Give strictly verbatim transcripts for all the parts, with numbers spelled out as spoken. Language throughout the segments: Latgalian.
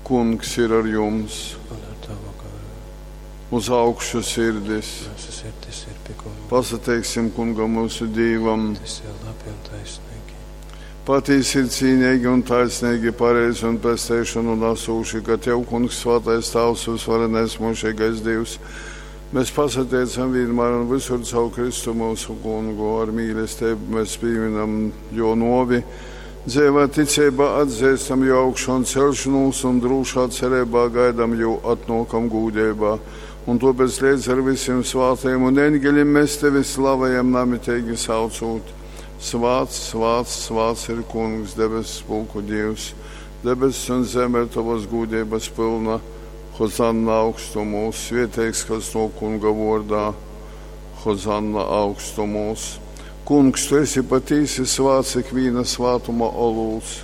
Kungs ir ar jums. Un ar tavu garu. Uz augšu sirdis. Mūsu sirdis ir pie Kunga. Pasateiksim Kungam mūsu Dīvam. Tas ir labi un taisnīgi. Patīsi ir cīnīgi un taisnīgi, pareizi un pesteišanu nesūši, ka Tev, Kungs, svētais Tavs, visvarenais mūžīgais Dievs, mēs pasateicam vienmēr un visur caur Kristu mūsu Kungu, ar mīlestību mēs pieminam jo novi, dzīvā ticībā atzīstam jo augšu un celšanos un drūšā cerībā gaidam jo atnokam gūdībā. Un tāpēc līdz ar visiem svātajiem un eņģeļiem mēs tevi slavējam namitīgi saucot. Svāts, svāts, svāts ir Kungs, debesu pulku Dievs. Debesis un zeme ir tavas gūdības pilna. Hozanna augstumos, svieteiks, kas no Kunga vārdā. Hozanna augstumos. Kungs, tu esi patīsi svāts ikviena svātuma olūts.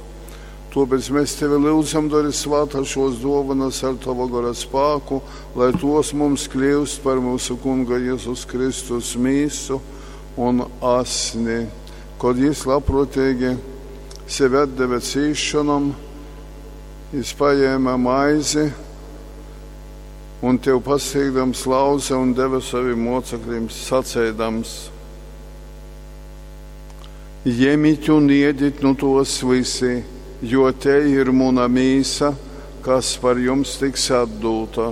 Tāpēc mēs tevi lūdzam, dari svātā šos dovanas ar tava gara spāku, lai tos mums kļūst par mūsu Kunga Jēzus Kristus mīsu un asni. Kad jis labprātīgi sevi atdeva cīšanam, jis paņēma maizi un tev pasniegdams lauze un deva saviem mocekļiem sacēdams: Ņemiet un iediet nu tos visi, jo te ir muna mīsa, kas par jums tiks atdūta.